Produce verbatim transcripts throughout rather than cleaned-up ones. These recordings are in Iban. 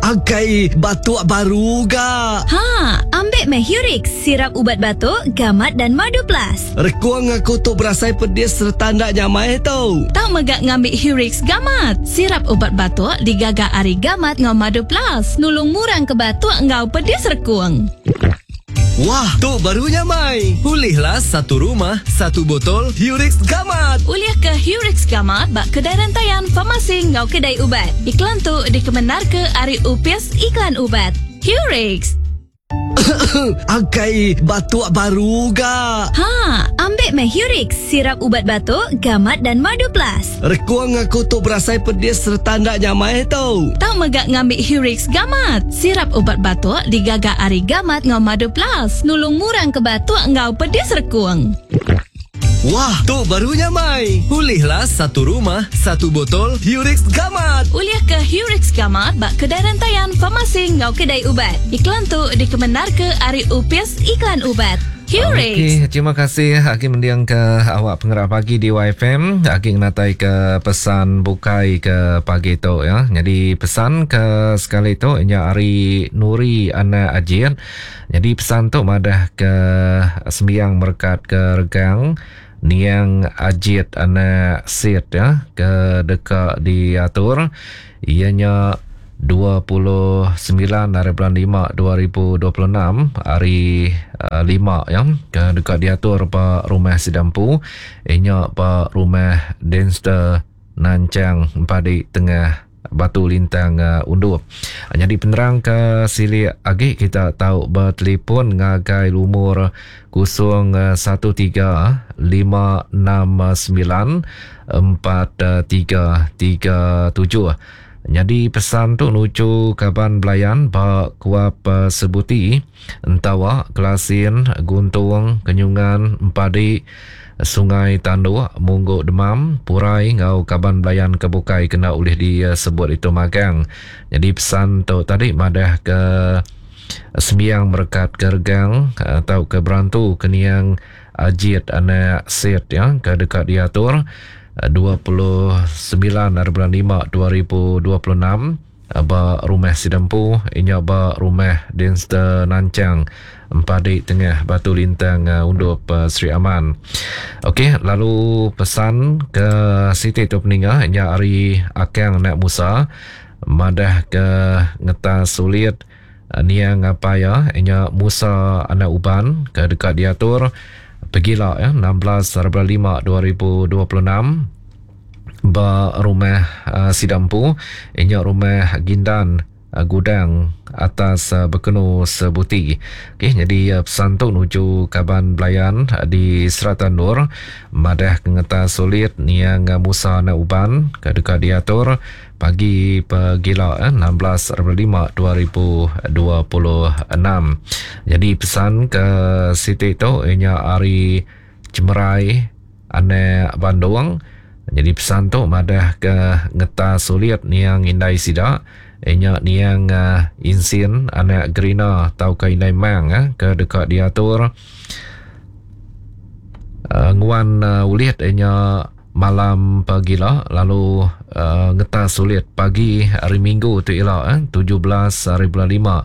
Akai batuk baru ga. Ha, ambil meh Hurix, sirap ubat batuk, gamat dan madu plus. Rekuang aku tu berasai pedis serta ndak nyamai tau. Tau megak ngambil Hurix gamat. Sirap ubat batuk digaga ari gamat ngau madu plus. Nulung murang ke batuk ngau pedis rekuang. Wah, tu baru nyamai. Pulihlah satu rumah, satu botol Hurix Gamat. Ulih ke Hurix Gamat bak kedai rentayan farmasi ngau kedai ubat. Iklan tu dikemenar ke ari Upis Iklan Ubat. Hurix. Akai batuk baru ga. Ha, ambil meh Hurix, sirap ubat batuk, gamat dan madu plus. Rekuang aku tu berasai pedis serta ndak nyamai tau. Tau megak ngambil Hurix Gamat. Sirap ubat batuk digaga ari gamat ngau madu plus. Nulung murang ke batuk ngau pedis rekuang. Wah, tu baru nyamai. Pulihlah satu rumah, satu botol Hurix Gamat. Ulih ke Hurix Gamat bak kedai rentayan farmasi ngau kedai ubat. Iklan tu dikemenar ke ari Upis Iklan Ubat. Hurix. Okey, terima kasih Aki mendiang ke awak pengerak pagi di Y F M. Aki ngatai ke pesan bukai ke pagi tu ya. Jadi pesan ke sekali tu nya ari Nuri anak Ajit. Jadi pesan tu madah ke sembiang merekat ke regang Niang Ajit anak Sid ya ke dekat diatur ianya dua puluh sembilan hari bulan lima dua ribu dua puluh enam hari uh, lima ya ke dekat diatur ba rumah Sidampu ianya ba rumah Denster Nancang Empadi Tengah Batu Lintang uh, Undup. Jadi penerang ke silik agi kita tahu bertelefon ngagai lumur kosong satu tiga lima enam sembilan empat tiga tiga tujuh. Jadi pesan tu nuju kaban belayan ba kuap uh, Sebuti, Entawa, Kelasin, Guntung, Kenyungan, Empadi, Sungai Tanduk, Mungguk Demam, Purai ngau kaban belayan kebukai kena oleh disebut itu magang. Jadi pesan tu tadi madah ke sembiang merekat ke regang atau ke berantu keniang Ajit anak Sid ya ke dekat diatur dua puluh sembilan hari bulan lima dua ribu dua puluh enam ba rumah Sidampu inya ba rumah Denster Nancang Empadi Tengah Batu Lintang Undup Sri Aman. Okey, lalu pesan ke Siti tu peninga inya ari Akang anak Musa madah ke ngetas sulit niang apa ya inya Musa anak Uban ke dekat diatur pegila ya enam belas hari bulan lima dua ribu dua puluh enam ba rumah uh, Sidampu inya rumah Gindan uh, gudang atas uh, Bekenu Sebuti. Okey, jadi uh, pesan tu nuju kaban belayan uh, di Serata Nur madah kengetas sulit niang uh, Musa anak Uban ke dekat diatur pagi pegila eh, enam belas hari bulan lima dua ribu dua puluh enam. Jadi pesan ke Siti tu ianya ari Cemerai anak Bandung. Jadi pesan tu madah ke ngetas sulit niang indai sida ianya niang uh, Insin anak Gerina tau ke indai Mang eh, ke dekat diatur uh, nguan uh, ulit ianya malam pagila lalu uh, ngetas sulit pagi hari Minggu tu ila eh, tujuh belas hari bulan lima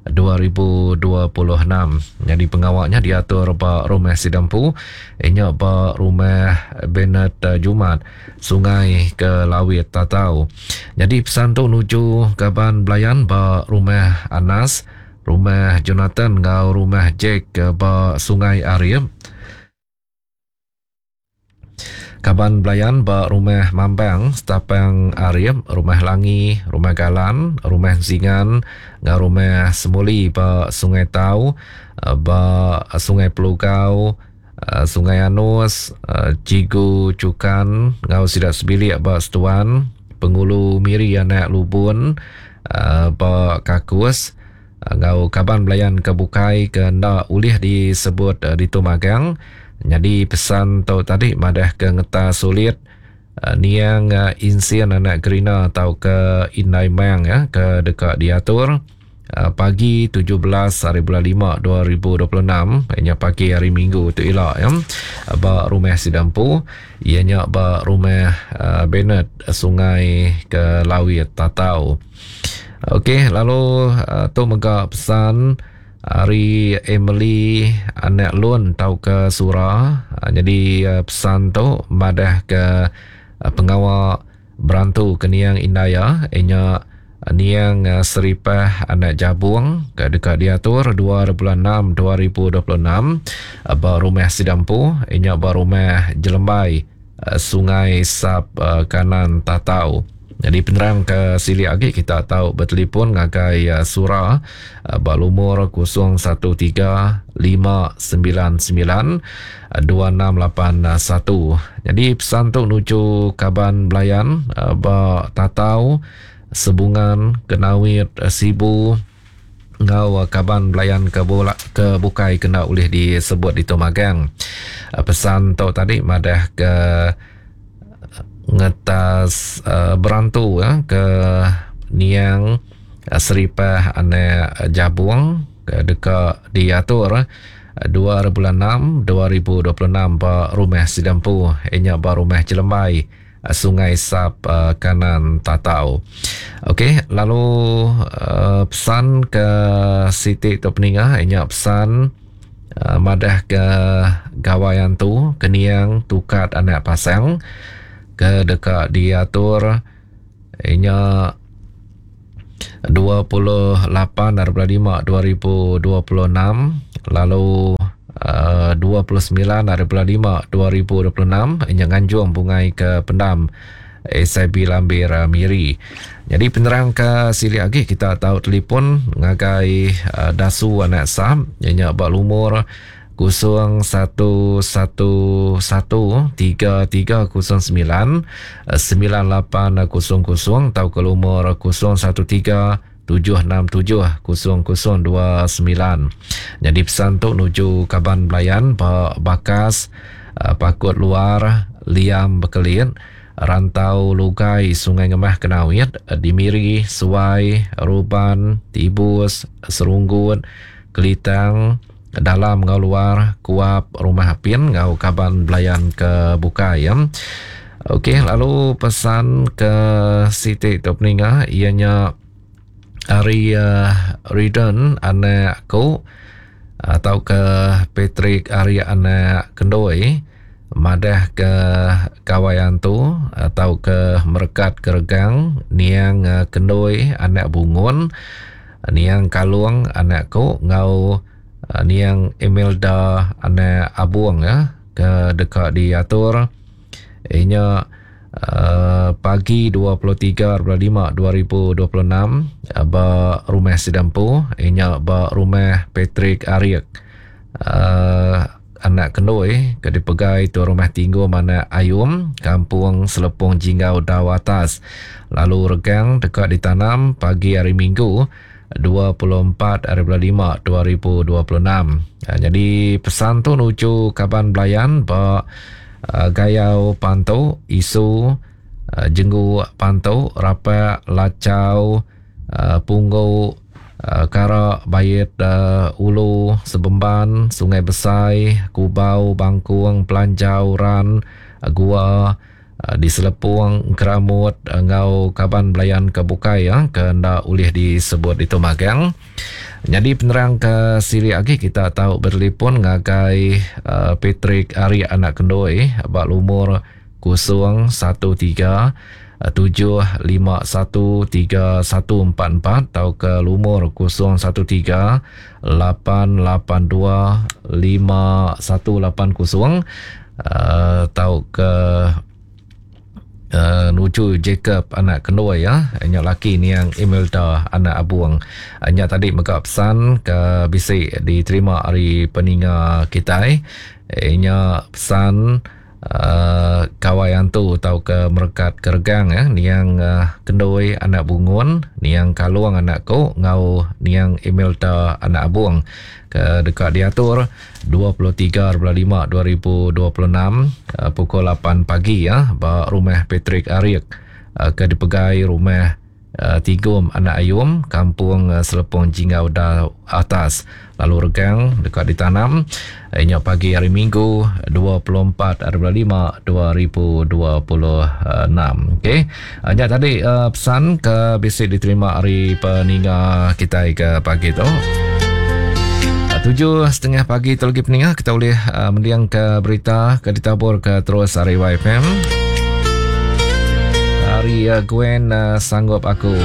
dua ribu dua puluh enam. Jadi pengawaknya diatur ba rumah Sidampu inya ba rumah Bennett uh, Jumat Sungai ke Lawit Tatau. Jadi pesan tu nuju kaban belayan ba rumah Anas, rumah Jonathan ngau rumah Jack ba Sungai Arif. Kaban belayan ba rumah Mambang, Setapang Arif, rumah Langi, rumah Galan, rumah Zingan, ngau rumah Semuli ba Sungai Tau, ba Sungai Pelugau, Sungai Anus, Cigu Cukan, ngau sidak sebilik ba Setuan, Pengulu Miri anak Lubun, ba Kakus, ngau kaban belayan ke bukai ke ndak ulih disebut di Tumagang. Jadi pesan tu tadi madah ke ngetas sulit uh, niang uh, Insian anak Gerina atau ke Indai Mang ya ke dekat diatur uh, pagi tujuh belas hari bulan lima dua ribu dua puluh enam ianya pagi hari Minggu tu ila ya ba rumah Sidampu ianya ba rumah uh, Bennett Sungai ke Lawit Tatau. Okey, lalu uh, tu mega pesan ari Emily anak Lun tau ke Sura. Uh, jadi uh, pesan tu madah ke uh, pengawa berantu ke niang Indaya inya niang uh, Seripah anak Jabung ke dekat diatur dua bulan enam dua ribu dua puluh enam uh, ba rumah Sidampu inya ba rumah Jelembai uh, Sungai Sap uh, Kanan Tatau. Jadi penerang ke silik lagi kita tahu bertelefon ngagai uh, Sura uh, ba lumur kosong satu tiga lima sembilan sembilan dua enam lapan satu. Jadi pesan tu nuju kaban belayan uh, ba Tatau, Sebungan, Kenawit, uh, Sibu ngau uh, kaban belayan ke bola, ke bukai kena boleh disebut di Tomagang. Uh, pesan tu tadi madah ke ngetas uh, berantu ya, ke niang uh, Seripah anak Jabung ke dekat diatur uh, dua bulan enam dua ribu dua puluh enam ba rumah Sidampu inya ba rumah Jelembai uh, Sungai Sap uh, Kanan Tatau. Okey, lalu uh, pesan ke Siti tu peningah inya pesan uh, madah ke gawai antu ke niang Tukat anak Pasang ke dekat diatur inya dua puluh lapan bulan lima dua ribu dua puluh enam lalu uh, dua puluh sembilan bulan lima dua ribu dua puluh enam inya nganjung bungai ke pendam S I B Lambir Miri. Jadi penerang ke silik lagi kita tahu telefon ngagai uh, Dasu anak Sam inya ba lumur kosong satu satu satu tiga tiga kosong sembilan sembilan lapan kosong kosong atau ke lumur kosong satu tiga tujuh enam tujuh kosong kosong dua sembilan. Jadi pesan tu nuju kaban belayan ba Bakas, Pakut Luar, Liam Bekelit, Rantau Lugai, Sungai Ngemah Kenawit, Dimiri, Suai, Ruban, Tibus, Serunggut, Kelitang, dalam ngau luar, Kuap, Rumah Apin, ngau kaban belayan ke Bukai ya. Okey, lalu pesan ke Siti tu peningah ianya ari uh, Riden anak aku atau ke Patrick ari anak Kendoi madah ke kawayan tu atau ke Merekat Keregang niang uh, Kendoi anak Bungun niang Kalung anakku ngau Uh, niang Imelda anak Abuang ya ke dekat diatur inya uh, pagi dua puluh tiga bulan lima dua ribu dua puluh enam uh, ba rumah Sidampu inya ba rumah Patrick Ariek uh, anak Kendoi ke dipegai tu rumah Tinggu mana Ayum Kampung Selepung Jinggau Dau Atas. Lalu regang dekat ditanam pagi hari Minggu dua puluh empat hari bulan lima dua ribu dua puluh enam. Ha, jadi pesan tu nuju kaban belayan ba uh, Gayau Pantu, Isu, uh, Jenggu Pantu, Rapak, Lacau, uh, Punggu, uh, Karak, Bayit, uh, Ulu, Sebemban, Sungai Besai, Kubau, Bangkung, Pelanjau, Ran, uh, Gua, di Selepung, Keramut, ngau kaban belayan ke Bukai ya, ke ndak boleh disebut itu magang. Jadi penerang ke siri lagi kita tahu bertelefon ngagai uh, Patrick Ari anak Kendoi bak lumur kosong satu tiga tujuh lima satu tiga satu empat empat atau ke lumur kosong satu tiga lapan lapan dua lima satu lapan kosong atau ke Uh, nuju Jacob anak Kendoi ya, nya laki ni yang Imelda anak Abuang. Nya tadi mega pesan ke bisik diterima hari peninga kita. Nya pesan uh, kawai antu atau ke Merekat Keregang ya, niang uh, Kendoi anak Bungun, niang Kalung anak ko ngau niang Imelda anak Abuang ke dekat diatur dua puluh tiga bulan lima dua ribu dua puluh enam uh, pukul lapan pagi ya ba rumah Patrick Ariek uh, ke dipegai rumah uh, Tigum Anak Ayum, Kampung uh, Selepong Jingau Da Atas. Lalu regang dekat ditanam inya pagi hari Minggu dua puluh empat hari bulan lima dua ribu dua puluh enam. Okey. Nya tadi uh, pesan ke bisi diterima hari peninga kita ke pagi tu. Tujuh setengah pagi tu lagi peninga kita boleh uh, mendiang ke berita ke ditabur ke terus hari Y F M. Hari uh, Gwen uh, sanggup aku.